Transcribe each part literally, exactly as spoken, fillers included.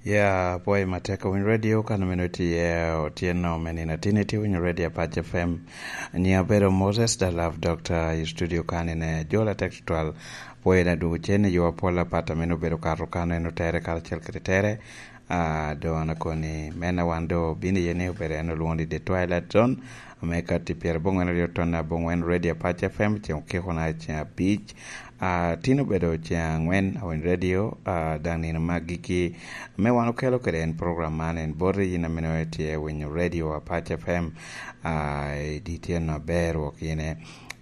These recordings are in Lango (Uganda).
Ya, apwoyo matek owiny radio kan meno tye otyeno me nino atin itye winyo radio Apac F M. Nyiŋa bedo Moses da Love Doctor i studio kan ine jol atek tutwal. Apwoyo na dwogo cen i yo apol apat a meno obedo kato kan en otere karacel kede tere. Ah, do an akoni, mena wan do bino iye ni obedo en olwoŋo ni The Twilight Zone. Ame kati pyerabongwen aryo ton abongwen Radio Apac F M, ceŋ okiko na ceŋ abic. Ah, tin obedo ceŋ angwen, Awiny Radio, ah, daŋ nino me agikki, ame wan okelo kede en program man, en boti yin ame nongo itye winyo Radio Apac F M, ah, i di tyen aber wok yin e.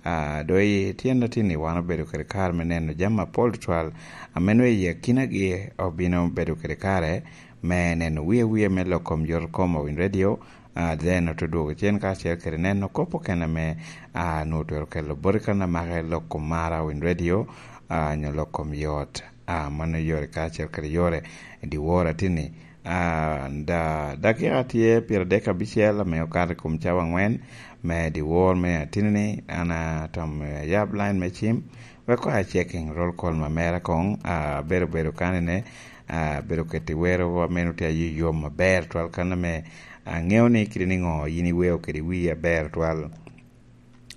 Ah, do i tyen atini wan obedo kede kare me neno jami apol tutwal, ame nongo i akinagi obino bedo kede kare me neno wie wie me lok kom yot kom Awiny Radio, ah, then ote dwogo cen kacel kede neno kop okene ame, ah, nwoŋo twero kelo boti kan amaka i lok kom mara Awiny Radio, ah, nyo lok kom yot, ah, mano yore kacel kede yore. Diwor atini, ah, da, dakika tye pyeradek abicel ame okato i kom cawa angwen me diwor me atini-ni, an atam, eh, yab line me cim, wek koŋ a checking roll call ma mera koŋ, ah, abedo bedo kanine, ah, abedo keti wero ameno tye ayo yom aber twal kan ame aŋeo ni kidi niŋo yin iweo kede wii aber twal.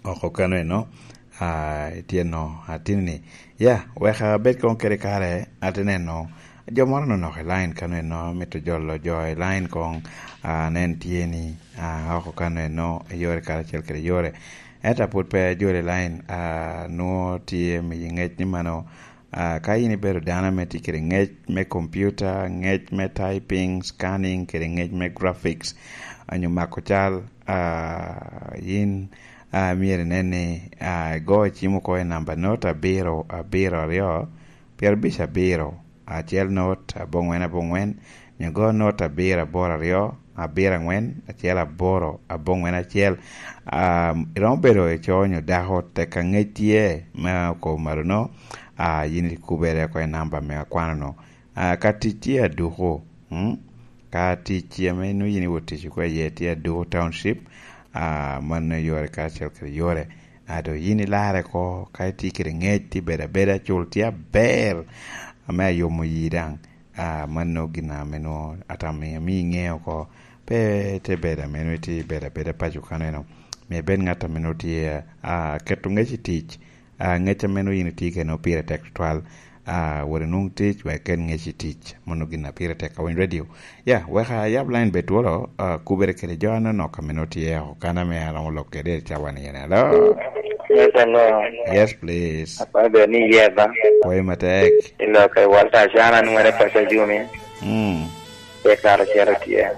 Oko kano eno, ah, itye no, atini ni, ya, wek abed koŋ kede kare, ate neno, jo moro nonok i line kano eno, mito jolo jo i line koŋ, ah, nen tye ni, ah, oko kano eno, yore karacel kede yore. Ento apwod pe ajolo i line, ah, nwoŋo tye miyi ŋec ni mano, ah, ka in ibedo dano ame tye kede ŋec me kompiuta, ŋec me typing, scanning, kede ŋec me graphics, onyo mako cal, ah, yin, ah, myero inen ni, ah, igo cim oko i namba not abiro, abiro aryo, pyerabic abiro, acel not, abongwen, abongwen, nyo go not abiro, aboro aryo, abiro angwen, acel aboro, abongwen acel. Ah, iromo bedo ico nyo dako tek aŋec tye me okobo marono, ah, yin ikubere oko i namba me akwano-nu. Ah, ka tic tye aduku, mm? Ka tic ame nongo yin iwot tic oko iye tye aduku township, ah, mano yore karacel kede yore. Ah, do yin ilarre oko, ka itye kede ŋec, tye bedo abeda, cul tye aber, ame ayomo yi daŋ. Ah, mano gin ame nwoŋo atamo ni amio iŋeo oko. Pe te bedo ame nwoŋo itye bedo abeda paco kaneno. Myero ibed ŋat ame nwoŋo tye, ah, keto ŋec i tic. Ah, ŋec ame nwoŋo yin itye kede nwoŋo pire tek tutwal. Ah, wot inwoŋ tic, wek iket ŋec i tic. Mano gin a pire tek. Awiny Radio. Ya, wek ayab line bed twolo, ah, kubere kede jo anonok ame nwoŋo tye oko kan ame aromo lok kede i cawa ni en. Hello? Yes, hello. Yes, please. Apwoyo bedo ni yeba. Pwoyo matek. Iloko i Walter Acana, nwere paco Jumi. Mm. Pe kare cito tye.